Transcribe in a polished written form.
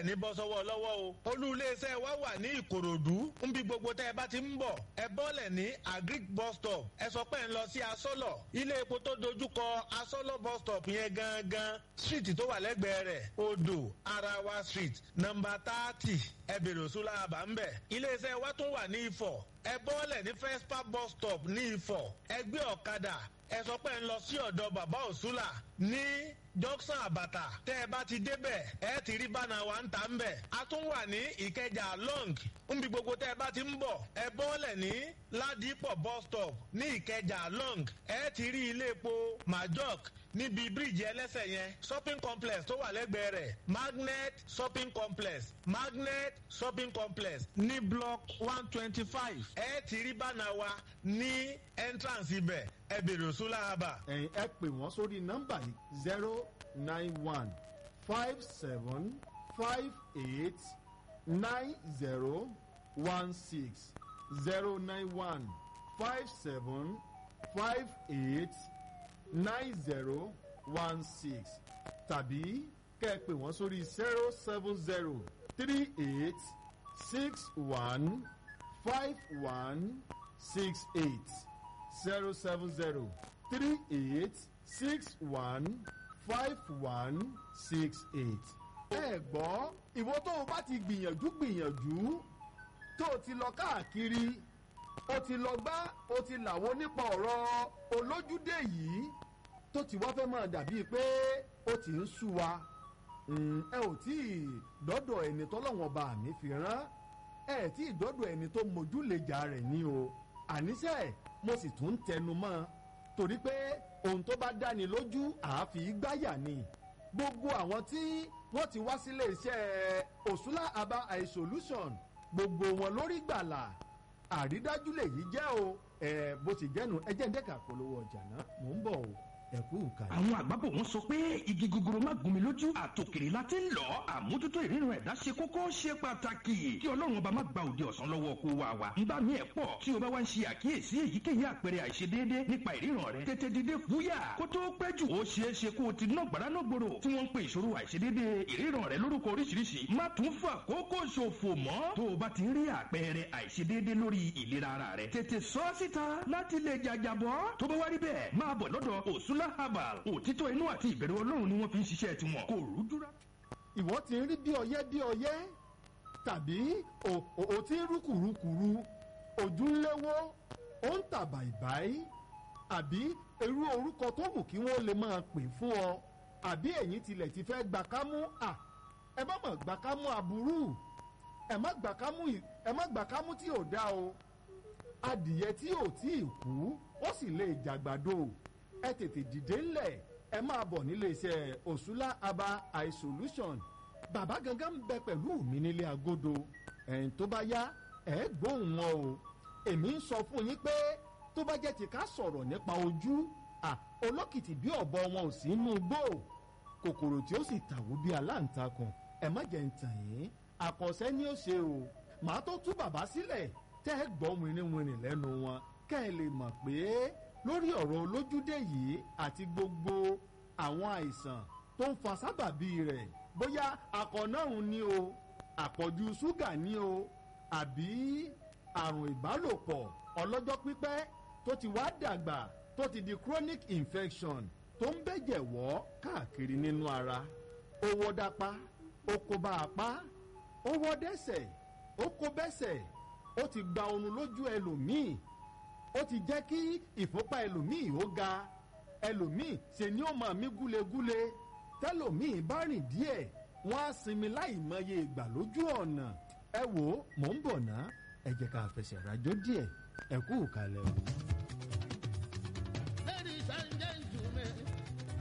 Ní bọ́ sọ́wọ́ lọ́wọ́ o. Olú iléeṣẹ́ wa wà ní Ìkòròdú. Nbi gbogbo tẹ́ ẹ bá ti ń bọ̀, ẹ bọ́lẹ̀ ní Agric bus stop. Ẹ sọ pé ń lọ sí Asọ́lọ̀. Ilé epo tó dojúkọ Asọ́lọ̀ bus stop yẹn gangan, street tó wà lẹ́gbẹ̀ẹ́ rẹ̀, Odò Arawa Street, nọ́mbà 30. Ẹ bèrè Òṣùlá àbá ń bẹ̀. Iléeṣẹ́ wa tún wà ní Ifọ̀. Ẹ bọ́lẹ̀ ní Fespa bus stop ní Ifọ̀. Ẹ gbé ọ̀kadà, ẹ sọ pé ń lọ sí ọ̀dọ̀ bàbá Òṣùlà ní Junction Àbàtà. Tẹ́ ẹ bá ti débẹ̀, ẹ ti rí bánà wa ń ta ń bẹ̀. A tún wà ní Ìkẹjà long. Nbi gbogbo tẹ́ ẹ bá ti ń bọ̀, ẹ bọ́lẹ̀ ní Ládìpọ̀ bus stop ní Ìkẹjà long. Ẹ ti rí ilé epo Majok níbi bíríìjì ẹlẹ́sẹ̀ yẹn, shopping complex tó wà lẹ́gbẹ̀ẹ́ rẹ̀, Magnet shopping complex, Magnet shopping complex ní block 125. Ẹ ti rí bánà wa ní entrance ibẹ̀. Ẹ bèrè Òṣùlá àbà. Ẹ̀yin ẹ pè wọ́n sórí nọ́mbà yìí: 09157589016, 09157589016, tàbí kẹ́ ẹ pè wọ́n sórí 07038615168, 07038615168. Ẹ gbọ́, ìwọ tó o bá ti gbìyànjú gbìyànjú, tó o ti lọ káàkiri, o ti lọ gbá, o ti làwo nípa ọ̀rọ̀ olójúdé yìí, tó ti wá fẹ́ máa dàbíi pé ó ti ń sú wa, ẹ ò tí ì dọ́dọ̀ ẹni tọ́lọ́wọ́n bá mi fi rán ẹ, tí ì dọ́dọ̀ ẹni tó mojúlejà rẹ̀ ní o. Àníṣe mo sì tún ń tẹnu mọ́ ọn torí pé ohun tó bá dáni lójú àáfi gbáyà ni. Gbogbo àwọn tí wọ́n ti wá sílé iṣẹ́ Òṣùlá Aba Eye Solution, gbogbo wọn lórí gbàlà, àrídájú lèyí jẹ́ o. Ẹ bó ti jẹ́nu, ẹ jẹ́ ń dẹ́ka polówó ọjà náà, mò ń bọ̀ o, ẹ kú ìkàlẹ̀. Àwọn àgbàbọ̀ wọn sọ pé igi gogoro má gún mi lójú, àtòkèrè la ti ń lọ. Àmójútó ìrírun ẹ̀dá ṣe kókó, ṣe pàtàkì. Kí Ọlọ́run ọba má gba òde ọ̀sán lọ́wọ́ kó wa wa. Ń bá mi ẹ̀ pọ̀ tí o bá wá ń ṣe àkíyèsí èyíkéyìí àpẹẹrẹ àìṣedéédé nípa ìríran rẹ, tètè dìde fúyà kó tó pẹ́ jù. Ó ṣeé ṣe kó o ti ná gbàrà náà gbòòrò tí wọ́n ń pe ìṣòro àìṣedéédé ìríran rẹ lórúkọ oríṣiríṣi. Má tún fà kókó ṣòfò mọ́. Tó o bá ti ń rí àpẹẹrẹ àìṣedéédé lórí ìlera ara rẹ, tètè sọ ọ́ síta láti lè jàjàbọ́. Tó bá wá rí bẹ́ẹ̀, máa bọ̀ lọ́dọ̀ Òṣùlá Herbal. Òtítọ́ inú àti ìbẹ̀rù Ọlọ́run ni wọ́n fi ń ṣiṣẹ́ tiwọn, kò rújú rárá. Ìwọ ti ń rí bí ọyẹ́ bí ọyẹ́, tàbí o ti ń rú kùrukùru, ojú ń léwó, ó ń tà bàìbàì, àbí irú orúkọ tó wù kí wọ́n lè máa pè fún ọ, àbí ẹ̀yin tilẹ̀ ti fẹ́ gbà kámú à, ẹ má mọ̀ gbà kámú aburú, ẹ má gbà kámú, ẹ má gbà kámú tí ò dá o. Adìyẹ tí ò tí ì kú, ó sì lè jàgbàdo. Ẹ tètè dìde ńlẹ̀, ẹ máa bọ̀ nílé iṣẹ́ Òṣùlá Aba Eye Solution. Bàbá gangan ń bẹ pẹ̀lú mi nílé agodo. Ẹ̀yìn tó bá yá, ẹ gbóhùn wọn o. Èmi ń sọ fún yín pé tó bá jẹ́ ti ká sọ̀rọ̀ nípa ojú à, olókìtì bí ọ̀bọ wọn ò sí inú igbó, kòkòrò tí ó sì tàwó bí aláǹtakùn. Ẹ má jẹ́ ń tàn yín, àkànṣe ni ó ṣe o. Màá tó tú bàbá sílẹ̀ tẹ́ ẹ gbọ́ wìnrìnwìnrìn lẹ́nu wọn, kẹ́ ẹ lè mọ̀ pé lórí ọ̀rọ̀ olójúdé yìí àti gbogbo àwọn àìsàn tó ń fa sábàbí rẹ̀, bóyá akọ̀nàrùn ni o, àpọ̀jù ṣúgà ni o, àbí àrùn ìbálòpọ̀ ọlọ́jọ́ pípẹ́ tó ti wá dàgbà, tó ti di chronic infection tó ń bẹ̀jẹ̀ wọ́ káàkiri nínú ara, ó wọ́ dápá, ó kó bá apá, ó wọ́ dẹ́sẹ̀, ó kó bẹ́sẹ̀, ó ti gba oorun lójú ẹlòmíì, ó ti jẹ́ kí ìfúnpá ẹlòmíì ó ga, ẹlòmíì ṣe ni ó máa mí gúlegúle, tẹlòmíì bá rìn díẹ̀, wọ́n á sinmi láì mọye ìgbà lójú ọ̀nà. Ẹ wò ó, mò ń bọ̀ ná, ẹ jẹ́ ká fẹsẹ̀ rajó díẹ̀. Ẹ kú ìkàlẹ̀ o. Ladies and gentlemen.